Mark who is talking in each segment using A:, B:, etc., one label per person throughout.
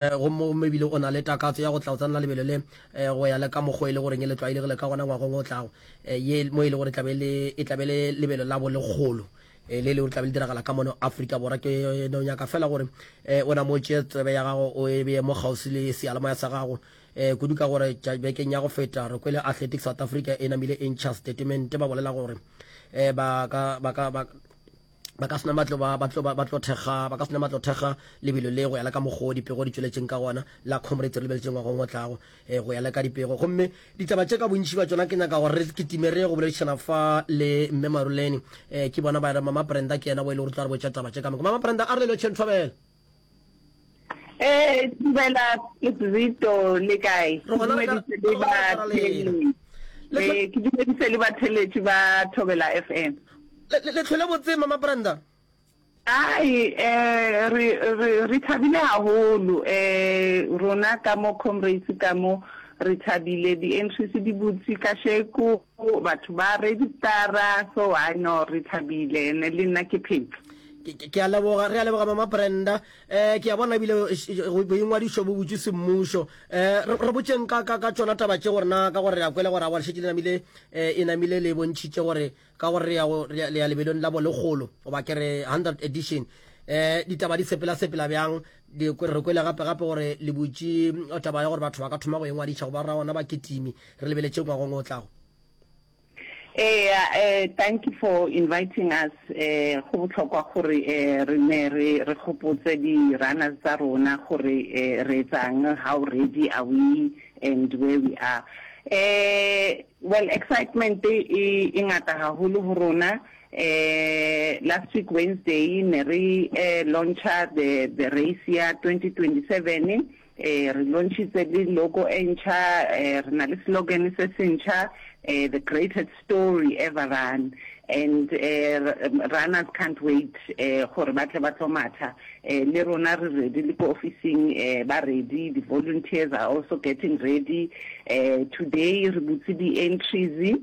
A: Gomme, gomme ebile o na le takatso ya go tla o tsenela lebelo le, go ya le ka mokgwa e le goreng le tlwaelegile ka gona ngwageng o tlago, ye mo e le gore e tla be le, e tla be le lebelo la bolekgolo, le le gore tla be le diragala ka mono Afrika Borwa. Ke no nyaka fela gore o na mo tšee tsebe ya gago o e beye mo kgauswi le seyalemoya sa gago, kudu ka gore bekeng ya go feta re kwele Athletics South Africa e namile e ntšha statement ba bolela gore ba ka, ba ka, ba, ba ka sena matlo ba ba tlo ba tlo thekga ba ka sena matlo thekga lebelo le go ya le ka mokgwa dipego di tšweletšeng ka gona la Comrades re lebeletšeng ngwagong o tlago eh, go ya le ka dipego. Gomme ditaba tše ka bontši ba tšona ke nyaka gore re kitime re ye go boledišana fa le mme Maruleni, eh, ke bona ba re Mama Brenda ke yena bo e le gore tla re botša taba tše ka moka. Mama Brenda, a re le lotšheng thobela.
B: Eh, dumela Zito le kae?
A: Re gona re ka
B: le
A: ba
B: Eh, ke dumedise le batheletši ba Thobela FM.
A: Le tlhole botse Mama Brenda.
B: Ai, eh re re re thabile haholo eh rona ka mo Comrades ka mo re thabile di entries di butse kasheko batho ba registera so I no re thabile ene le nna ke phetse.
A: Ke a leboga, re a leboga Mama Brenda. Eh, ke a bona ebile boingwadišo bo butšwe semmušo. Eh, re botšeng ka, ka, ka tšona taba tše gore na, ka gore re a kwele gore awa le šetše le namile, eh, e namile le bontšhitše gore ka gore re ya go, le ya lebelong la bolekgolo, goba ke re 100 edition. Eh, ditaba di sepela sepela bjang? Di, re kwele gape gape gore le butše taba ya gore batho ba ka thoma go ingwadiša go ba ra ona bakitimi, re lebeletše ngwagong o tlago.
B: Eya, eh, thank you for inviting us. Eh, go botlhokwa gore eh, re ne re re gopotse di-runners tsa rona gore eh, re etsang, how ready are we and where we are. Eh, well, excitement e, e ngata haholo ho rona. Eh, last week Wednesday ne re eh, launcha the, the race ya 2027. Re launchitse le logo e ntšha, re na le slogan se se ntšha, The greatest story ever run and runners can't wait gore ba tle ba tlo matha. Le rona re ready, le ko ofising ba ready, di volunteers are also getting ready. Today re butse di entries.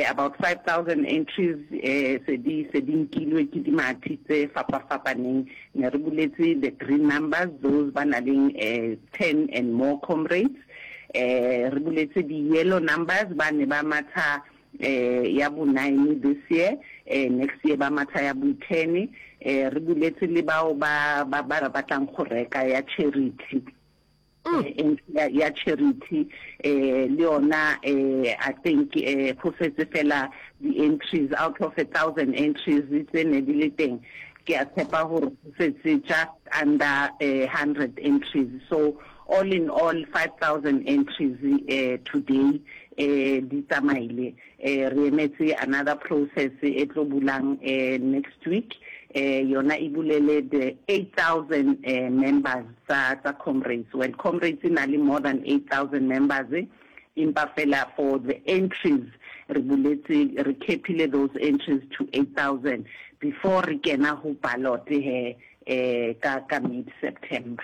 B: About 5000 entries se di se di nkilwe ke dimathi tse fapafapaneng. Ne re buletse the green numbers, those ba na leng 10 and more comrades. Re buletse di yellow numbers, ba ne ba matha ya bo nine this year, next year ba matha ya bo ten. Re buletse le bao ba ba ba batlang go reka ya charity. Mm. ya, ya charity eh le yona eh I think eh go setse fela di entries out of a thousand entries tse ne di le teng ke a tshepa gore go setse just under eh, 100 entries so all in all 5000 entries eh today eh di tsamaile Eh, re emetse another process e tlo bulang eh, next week eh, yona e bulele the 8000 eh, members tsa tsa comrades. Well, comrades e na le more than 8000 members empa fela for the entries re buletse re capile those entries to 8000 before re kena ho ballot he eh, ka ka mid September.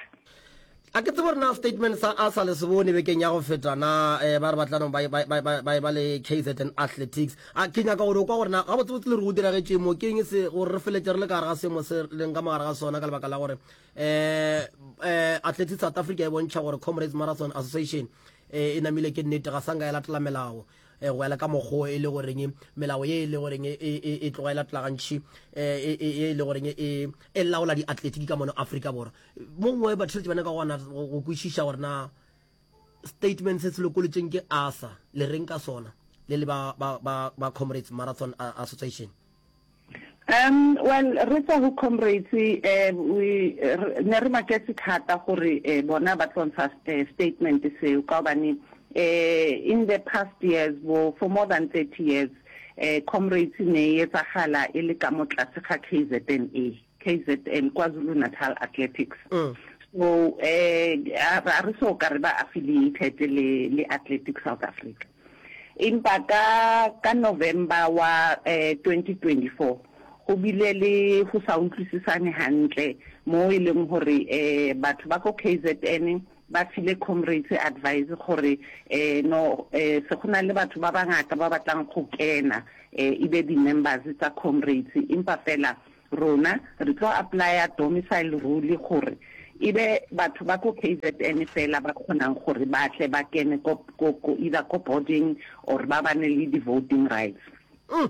A: A ke tsebe gore na statement sa a sa le se bone bekeng ya go feta na eh, ba re ba tla no ba ba ba ba ba ba le KZN Athletics. A ke nyaka gore o kwa gore na gabotsebotse le re go diragetše mo ke eng se gore re feletse re le ka gare ga seemo se leng ka mogare ga sona ka lebaka la gore eh eh Athletics South Africa e bontšha gore Comrades Marathon Association eh, e namile ke nnete ga sanka ya latela melao eh, go ya le ka mokgwa e le goreng melao ye e le goreng e, e, e tloga e latela gantši eh, e, e, e le goreng e, e laola diatletiki ka mono Afrika Borwa. Mo gongwe batheeletši ba nyaka gona go kwešiša gore na statement se se lokolotšeng ke ASA le reng ka sona le le ba, ba, ba, ba Comrades Marathon Association.
B: Um, well, re tswa go Comrades, eh, we, ne re maketse thata gore eh, bona ba tlo ntsha eh, statement seo ka gobane eh, in the past years bo for more than 30 years eh, Comrades ne e etsagala e le ka mo tlase ga KZNA. KZN, KwaZulu-Natal Athletics. So eh a re so ka re ba affiliated le le Athletics South Africa. Empa ka ka November wa eh 2024 go bile le go sa utlwisisane hantle mo e leng gore eh batho ba ko KZN ba file comrades advice gore eh no eh se go na le batho ba bangata ba batlang go kena eh e be di-members tsa comrades empa fela Rona re tlo apply-a domicile rule gore e be batho ba ko KZN fela ba kgonang gore ba tle ba kene ko, ko, ko either ko boarding or ba bane le di-voting rights.
A: Mm.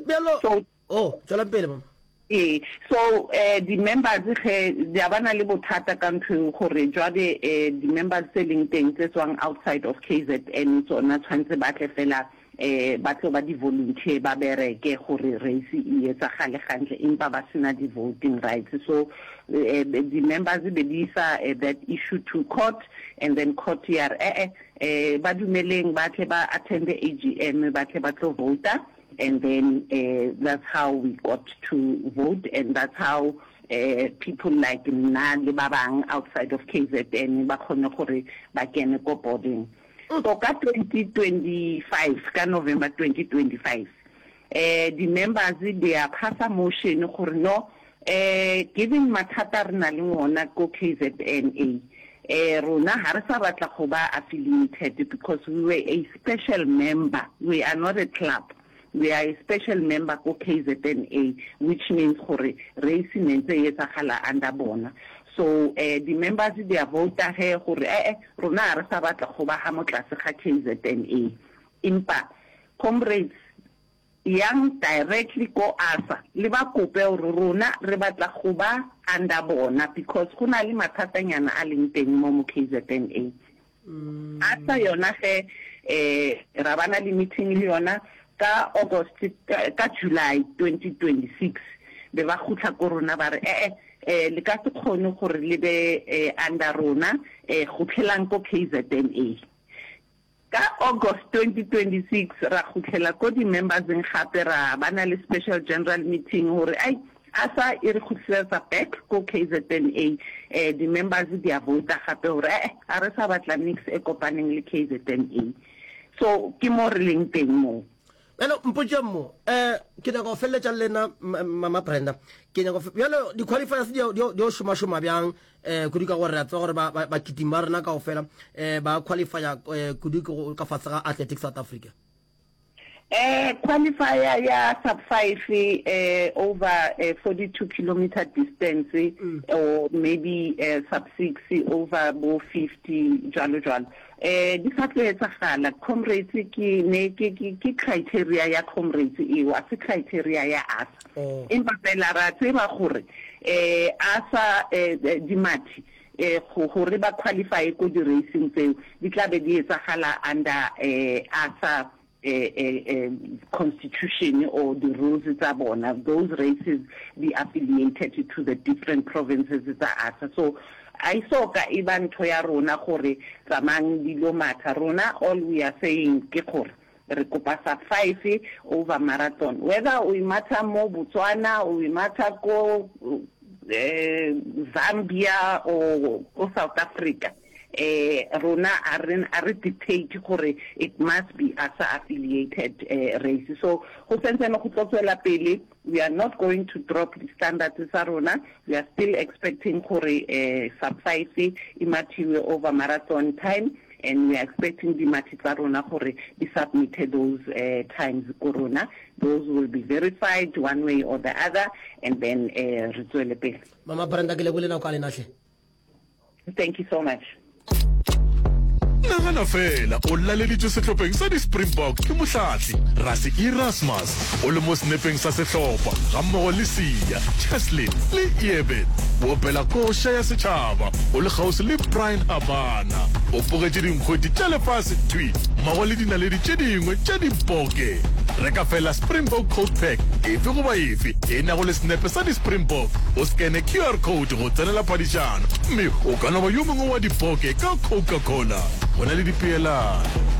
A: Bjalo,
B: So,
A: oh, tswelang pele mama.
B: Ee, so eh di-members ge di a ba na le bothata ka ntho eo gore jwale eh di-members tse leng teng tse tswang outside of KZN tsona tshwanetse ba tle fela eh ba tlo ba di-volunteer ba bereke gore race e etsagale gantle empa ba sena di-voting rights. So eh di-members be di isa eh, that issue to court and then court ya re eh eh ba dumeleng ba tle ba attend AGM ba tle ba tlo vouta. And then uh, that's how we got to vote and that's how uh, people like nna le ba bang outside of KZN ba kgone gore ba kene ko boarding. So ka 2025, ka November 2025, eh di-members di a phasa motion gore no eh given mathata re na le ona ko KZNA eh rona ha re sa batla go ba affiliated because we were a special member, we are not a club, we are a special member ko KZNA which means gore race ne ntse e etsagala under bona. So eh di-members di a vouta ge gore eh eh rona ha re sa batla go ba ha mo tlase ga KZNA. Empa comrades Yang directly ko ASA le ba kope gore rona re batla go ba under bona because go na le mathatanyana a leng teng mo mo KZNA. ASA yona ge eh ra ba na le meeting le yona ka August ka July 2026 be ba gutla ko rona ba re eh eh le ka se kgone gore le be under rona eh gutlelang ko KZNA. Ka August 2026 ra kgutlela ko di-memberseng gape ra ba na le special general meeting gore ai ASA e re kgutlisetsa back ko KZNA. Eh di-members di a vouta gape gore eh ga re sa batla nix e kopaneng le KZNA. So ke mo re leng teng moo.
A: Bjale mpotšeng mo, eh ke nyaka go feleletša le lena Mama Brenda. Ke nyaka go bjale di-qualifiers di di di šoma-šoma bjang eh kudu ka gore re a tseba gore ba ba bakitima ba rena kaofela eh ba qualifya eh kudu ke go ka fase ga Athletics South Africa.
B: Eh qualifier ya sub 5 eh over eh 42 kilometer distance or maybe eh sub 6 over bo 50 jwalo jwalo. Eh di sa tlo etsagala comrades ke ne ke ke ke criteria ya comrades eo a se criteria ya ASA.
A: Oh.
B: Empa fela ra tseba gore eh ASA eh dimathi eh go gore ba qualify ko di racing tseo di tla be di etsagala under eh ASA constitution or the rules tsa bona those races di affiliated to the different provinces tsa ASA so a e so ka e ba ntho ya rona gore tsamayang di lo matha rona all we are saying ke gore re kopa sub 5 over marathon whether o e matha mo Botswana o e matha ko Zambia or ko South Africa Eh, rona a re a re dictate gore it must be ASA affiliated eh, race. So go sentsene go tlo tswela pele, we are not going to drop the standards tsa rona. We are still expecting gore eh, sub 5 e mathiwe over marathon time and we are expecting dimathi tsa rona gore di submit those eh, times ko rona. Those will be verified one way or the other and then eh, re tswele pele.
A: Mama Brenda ke lebole nako a lena hle.
B: Thank you so much.
C: Nagana fela o laleditšwe sehlopheng sa di-Springbok ke mohlahli Rassie Erasmus o le mo senepeng sa sehlopha gammogo le Siya, Cheslin le Eben. O opela koša ya setšhaba o le kgauswi le Bryan Habana. O bogetše dinkgwete tša lefase thwi mmogo le dinaledi tše dingwe tša diboke. Reka fela Springbok Coke Pack efe goba efe e nago le senepe sa di-Springbok, o skene QR code go tsenela phadišano mme o ka no ba yo mongwe wa diboke ka Coca-Cola. Go na le dipeelano.